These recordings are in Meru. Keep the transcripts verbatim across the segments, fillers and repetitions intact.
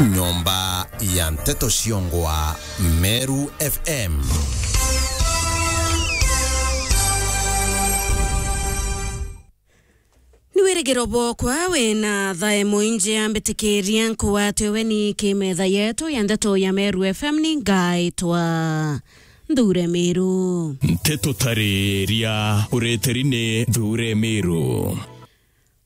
Nyomba ya nteto ciongwa Meru F M. Ni wirigiro bwokwa wina thae mwingi, ambitikiria nkuwate weni ki metha yetu ya ndeto ya Meru F M. Ni ngaitwa Nthure Miru. Nteto tariria ureteri ni Nthure Miru.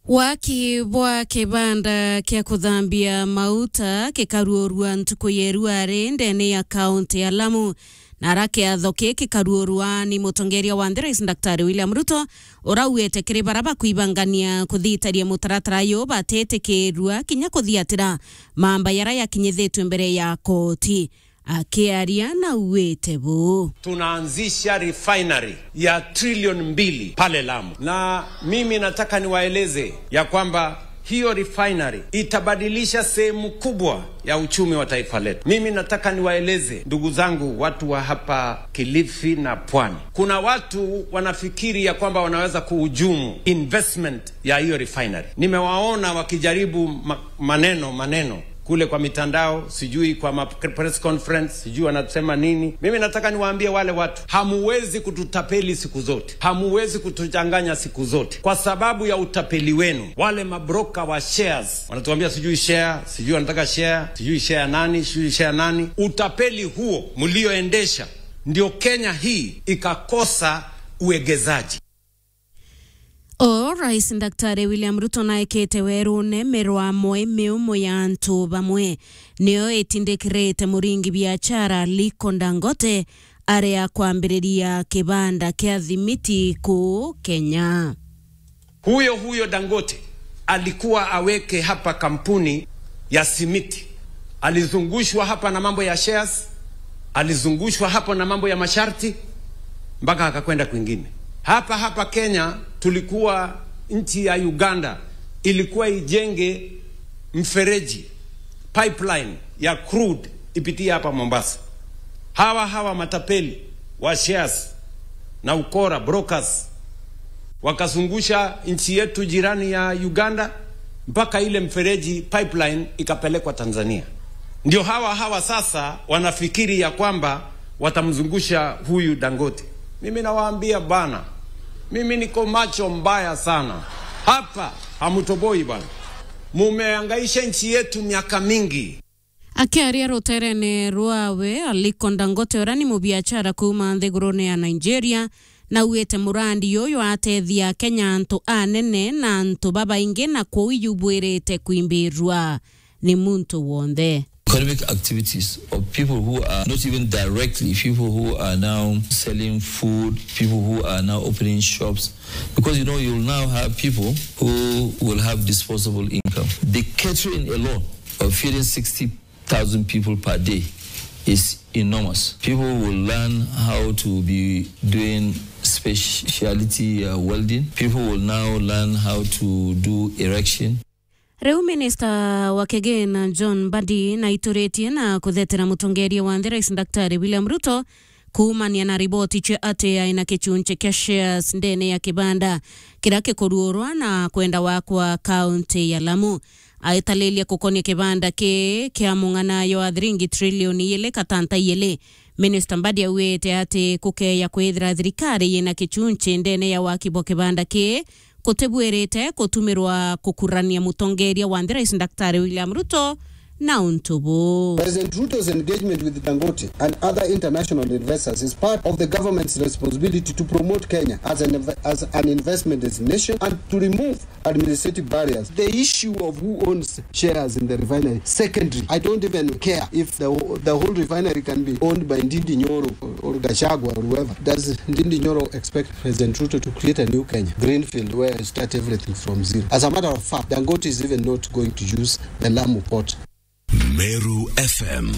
Waki bwa kibanda kia kuthambia mauta kikaruurua ntuku ya iruari ndene ya kaunti ya Lamu. Na ara kiatho ki kikaruurua ni mutongeria wa nthi, Rais Daktari William Ruto, urauite kiri bara bakwibangania kuthitaria mutaratara uyu batitikirua kinya kuthiatira mamba yara yakinyithitue mbere ya koti. Akiaria na auite buu. Tunaanzisha refinery ya trilioni mbili pale Lamu. Na mimi nataka niwaeleze ya kwamba hiyo refinery itabadilisha sehemu kubwa ya uchumi wa taifa letu. Mimi nataka niwaeleze, ndugu zangu, watu wa hapa Kilifi na Pwani. Kuna watu wanafikiri ya kwamba wanaweza kuhujumu investment ya hiyo refinery. Nimewaona wakijaribu ma-, maneno, maneno kule kwa mitandao, sijui kwa ma-, press conference, sijui wanasema nini. Mimi nataka niwaambie wale watu, hamuwezi kututapeli siku zote. Hamuwezi kutuchanganya siku zote. Kwa sababu ya utapeli wenu, wale mabroker wa shares, wanatuambia sijui share, sijui wanataka share, sijui share nani, sijui share nani. Utapeli huo mlioendesha ndio Kenya hii ikakosa uegezaji. O Rais Daktari William Ruto naekete werune mirwamo miumu ya antu bamwe niyo itindikirite muringi biashara Aliko Dangote aria kwambiriria kibanda kia thimiti kuu Kenya. Huyo huyo Dangote alikuwa aweke hapa kampuni ya simiti. Alizungushwa hapa na mambo ya shares, alizungushwa hapo na mambo ya masharti, mpaka akakwenda kwingine. Hapa hapa Kenya tulikuwa, nchi ya Uganda ilikuwa ijenge mfereji, pipeline ya crude ipitie hapa Mombasa. Hawa hawa matapeli wa shares na ukora, brokers, wakazungusha nchi yetu jirani ya Uganda mpaka ile mfereji, pipeline, ikapelekwa Tanzania. Ndio hawa hawa sasa wanafikiri ya kwamba watamzungusha huyu Dangote. Mimi nawaambia bana, mimi niko macho mbaya sana. Hapa hamutoboi bana. Mumehangaisha nchi yetu miaka mingi. Akiaria ruterene rwawe, Aliko Dangote, uria ni mubiashara kuuma nthigurune ya Nigeria, naugite murandi uyu atethia Akenya, antu anene na antu babaingi, na kwou iyubwirite kwimbirua ni muntu wonthe. Economic activities of people who are not even directly, people who are now selling food, people who are now opening shops, because, you know, you'll now have people who will have disposable income. The catering alone of feeding sixty thousand people per day is enormous. People will learn how to be doing specialty, uh, welding. People will now learn how to do erection. Riu minista wa kigina John Mbadi naituritie na kuthetera mutongeria wa nthi, Rais Daktari William Ruto, kuumania na riboti cia ati aina kichunchi kia shares ndene ya kibanda kiria kikuruurwa na kwenda wakwa kaunti ya Lamu. Aitalilia gukonia kibanda ki kia mung'ana jwa thiringi trilioni ijiri katanta ijiri, Minista Mbadi augite ati kukeya kwithira thirikari yina kichunchi ndene ya waki bwa kibanda ki, kutibwirite kutumirwa kukurania mutongeria wa nthi, Rais Daktari William Ruto, na untu buu. President Ruto's engagement with Dangote and other international investors is part of the government's responsibility to promote Kenya as an inve-, as an investment destination and to remove administrative barriers. The issue of who owns shares in the refinery, secondary. I don't even care if the wh-, the whole refinery can be owned by Ndindi Nyoro or, or Gachagua or whoever. Does Ndindi Nyoro expect President Ruto to create a new Kenya, greenfield, where you start everything from zero? As a matter of fact, Dangote is even not going to use the Lamu port. Meru F M.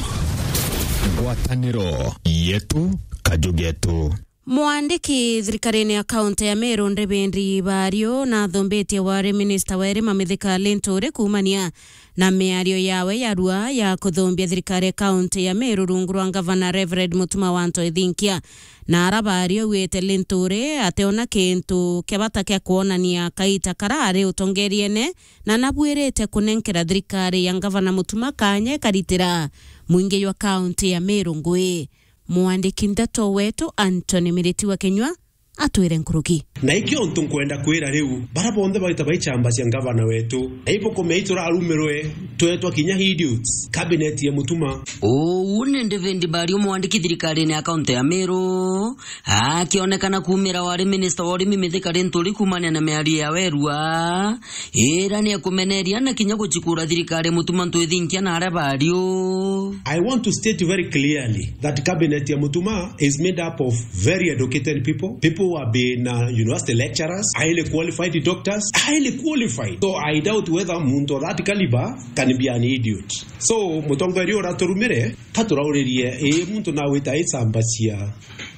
Ngwataniro yetu, kaju getu. Mwandiki thirikarine ya kaunti ya Meru, David Bario, nathumbitie wari minista wa irima Mithika Linturi kuumania na miario yawe ya rua ya kuthumbia thirikari ya kaunti ya Meru rungu rwa ngavana Reverend Mutuma wa Anto Ithinkia. Na ara Bario augite Linturi ateona kintu kia bata kia kwonania kaita kara ari utongeriene, na nabuirite kunenkera thirikari ya ngavana Mutuma kanya ikaritira mwingi jwa kaunti ya Meru ngui. Mwandiki ndeto wetu Anthony Miriti wa Kinyua atwire nkuruki. Na ikio untu nkwenda kwira riu, bara bonthe baita baichamba cia ngavana wetu, na ibukumia iturarumirwe, twetwa kinya idiots, cabinet ya Mutuma. Uu ni David Bario, mwandiki thirikarine ya kaunti ya Meru, akionekana kuumira wari minista wa urimi Mithika Linturi kuumania na miario ya werua, ira ni ekumeneria na kinya guchikura thirikari ya Mutuma Anto Ithinkia na aria Bario. I want to state very clearly that cabinet ya Mutuma is made up of very educated people, people who have been, uh, university lecturers, highly qualified doctors, highly qualified. So I doubt whether muntu of that caliber can be an idiot. So mutongoria uraturumire, ka turauririe, ii muntu nawita icamba cia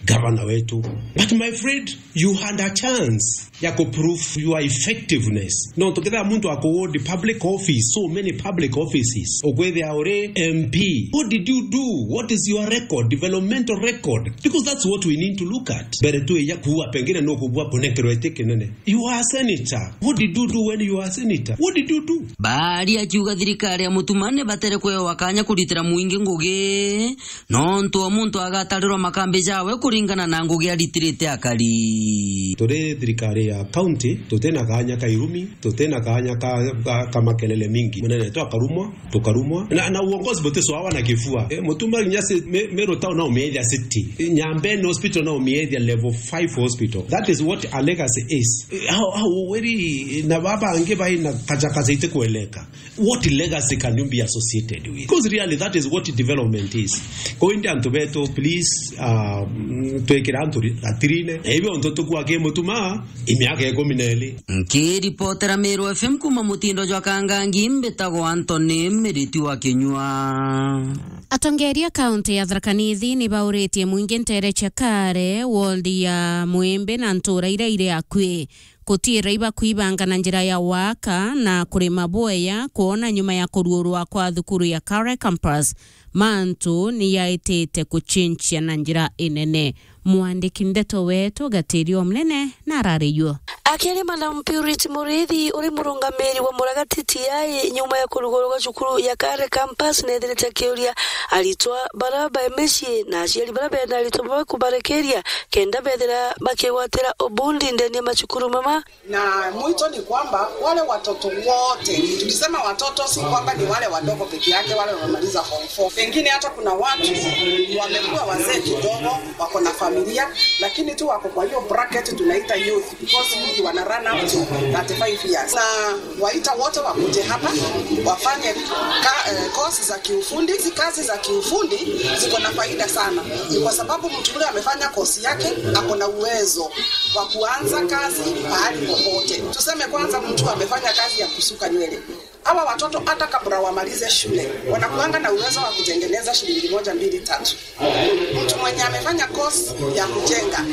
gavana wetu. But my friend, you had a chance ya ku prove your effectiveness. No, tukethira muntu akuhold public office, so many public offices, ukwithia uri M P. What did you do? What is your record, developmental record? Because that's what we need to look at. Mbere tu ya kuua, pengine no kubua kunenkerwa iti kinene. You are a senator. What did you do when you are a senator? What did you do? Baari akiuga thirikari ya Mutuma ni batere kwewa kanya kuritira mwingi ngugi, nontu o muntu agatarirwa makambi jawe kuringana na ngugi aritirite akari. Turi thirikari ya county, tutina kanya ka irumi, tutina kanya ka, ka, ka makelele mingi. Munene tu akarumwa, tukarumwa. Na, na uongozi buti swawa na kifua. E, Mutuma nginya si, me, Meru town no umiethia city. Nyambene hospital no umiethia level five hospital. That is what a legacy is. E, how, how, weri, na baba angi bai na kaja kaja ite kueleka. What legacy can you be associated with? Because really, that is what development is. Kwa hiyo, antu betu, please, um, twikira antu ri-, gatirine. Na hivyo, ntu tukua ki Mutuma, imiaka ikumi na iri. Nkiripotera Meru F M kuma mutindo jwa Kangangi, mbitagwa Anthony Miriti wa Kinyua. Atongeria kaunti ya Tharaka Nithi ni bauritie mwingi ntere cia Kare, ward ya Mwimbi na ntura iria iri akui. Gutiira ibakuibanga na njira ya waka na kurima bweya, kwona nyuma ya kuruurwa kwa thukuru ya Kare Campus, mantu ni yaitite kuchinchia na njira inene. Mwandiki ndeto wetu Gatirio Mnene na arariyo. Akiaria Madam Purity Murithi, uri murungamiri wa Muragati T I, nyuma ya kurugurwa gwa cukuru ya Kare Campus, nethirite akiuria aritwa bara bai micii na aciari bara bena aritwa bamwe kubarekeria kenda bethira bakigwatira ubundi ndene ya macukuru mama. Na mwito ni kwamba wale watoto wote, tukisema watoto, si kwamba ni wale wadogo peke yake, wale wamemaliza form four. Pengine hata kuna watu wamekuwa wazee kidogo, wako na familia, lakini tu wako kwa hiyo bracket tunaita youth, because youth wana run up to thirty-five years. Na waita wote wakuje hapa, wafanye ka-, eh, course za kiufundi. Hizi kazi za kiufundi ziko na faida sana, ni kwa sababu mtu yule amefanya course yake, ako na uwezo wa kuanza kazi pahali popote. Tuseme kwanza mtu amefanya kazi ya kusuka nywele. Hawa watoto hata kabla wamalize shule, wanakuanga na uwezo wa kutengeneza shilingi moja, mbili, tatu. Mtu mwenye amefanya course ya kujenga,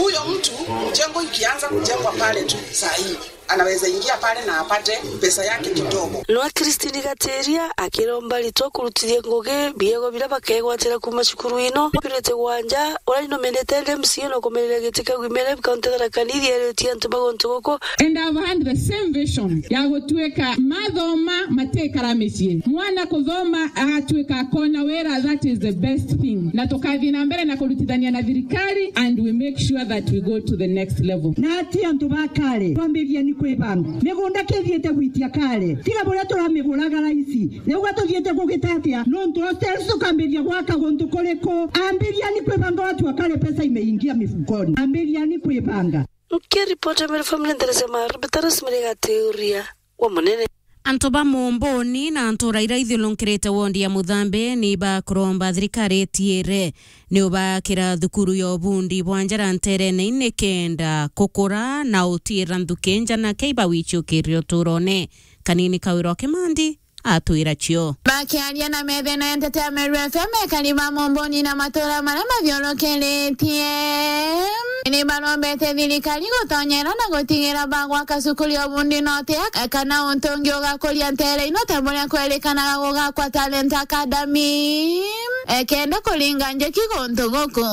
huyo mtu, mjengo ikianza kujengwa pale tu saa hii, anaweza ingia pale na apate pesa yake kidogo. Nwa Christine Gatiria akiromba aritwa kurutithia ngugi biego biria bakegwatira kuuma cukuru ino. Purity Gwanja, uria ni nominated M C A na kumenera giti kia Women Rep County Tharaka Nithi, eritie antu ba guntu guku. And I've had the same vision ya gutuika mathoma matikara micii. Mwana kuthoma agatuika akona wira, that is the best thing. Na tukathii na mbere na kurutithania na thirikari and we make sure that we go to the next level. Na ati antu ba Kare, twambiria ni kwibanga. Migunda kithiite gwitia Kare. Tiga buria turamiguraga raici. Riu gatuthiite kugita atia? Nontu hostels tukambiria gwaka guntu kuriku? Ambiria ni kwibanga watu wa Kare, pesa imeingia mifukoni. Ambiria ni kwibanga. Nkiripota Meru Family Nderese Maru, Peter Rosemary Gatiuria wa Munene. Antu ba Mumbuni na ntura iria ithiurunkirite wondi ya Muthambi ni bakuromba thirikari itiire ni ubakira thukuru ya ubundi bwa njara nterene ini kenda kukura na utiira nthuki nja na kei bawichukiria uturone. Kanini Kawira wa Kimandi atwira cio. Bakiaria na methena ya nteto ya Meru F M, ekari ba Mumbuni na matura maria mathiurukiritie ni barombete thirikari gutonyera na gutigira bagwaka cukuru ya ubundi note kana untu ungi ugakuria ntere ino ta buria kwerikanaga gugakwa Talent Academy. Ekenda kuringa njeki guntu guku.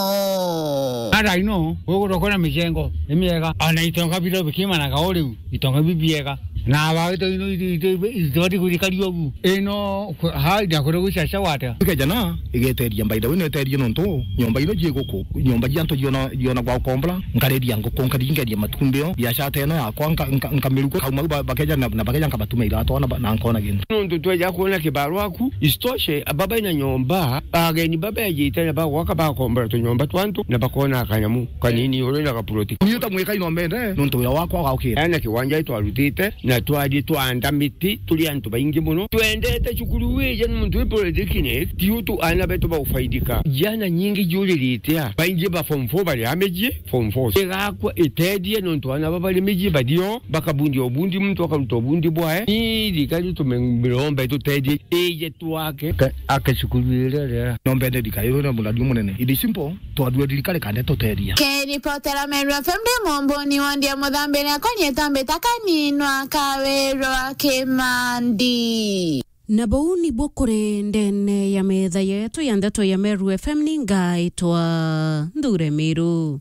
Ara ino, gwe gutokona micengo, ni miega. Ona itonga biro bikimanaga o riu, itonga bibiega. Na aba ito ino ito, ito, ito, itibati kuthikaria ugu. Ino, ku-, ha, ndia kure gwicaca gwata. Ikejana, igeteria, by the way, neterie nontu, nyomba ino jie guku, nyomba jia antu jiona, jiona gwa ukombora, nkariria nguku, nkaringeria matumbio, biashara ta ino yakwa, nka-, nka-, nkamiruka, kauma ba-, bakeja na, na bakeja nkabatuma iratu, na ba-, na nkona gintu. Nontu tweja kuona kibarua ku, isitoshe, baba ina nyomba, ageni baba ejite na bagwaka bakombora tunyomba twa antu, na bakona kanyamu kanini uri na gapuroti. Ni uta mwika ino mbende, nontu wira wakwa gaukira. Ena kiwanja twarutite, na twari twanda miti, turi antu baingi muno. Twendete cukuru wije ni muntu wi polytechnic, ti utu ana betu baufaidika. Jana nyingi juririte a, baingi ba form four bari amiji, form four. Igakwa itethie nontu ana baba bari miji bathio, bakabundia ubundi, muntu akaruta ubundi bwae. Ni thirikari tumirombe tutethie, ije twake. Ke-, ake cukuru iria ria. No mbende thirikari iria muradi munene. It is simple, twathue thirikari kande tutethia. Kiripotera Meru F M ndi Mumbuni wondi ya Muthambire akwa rietwa Mbita Kaninwa Kawirwa Kimandi. Na buu nibuo kuri ndene ya metha yetu ya ndeto ya Meru F M ni ngaitwa Nthure Miru.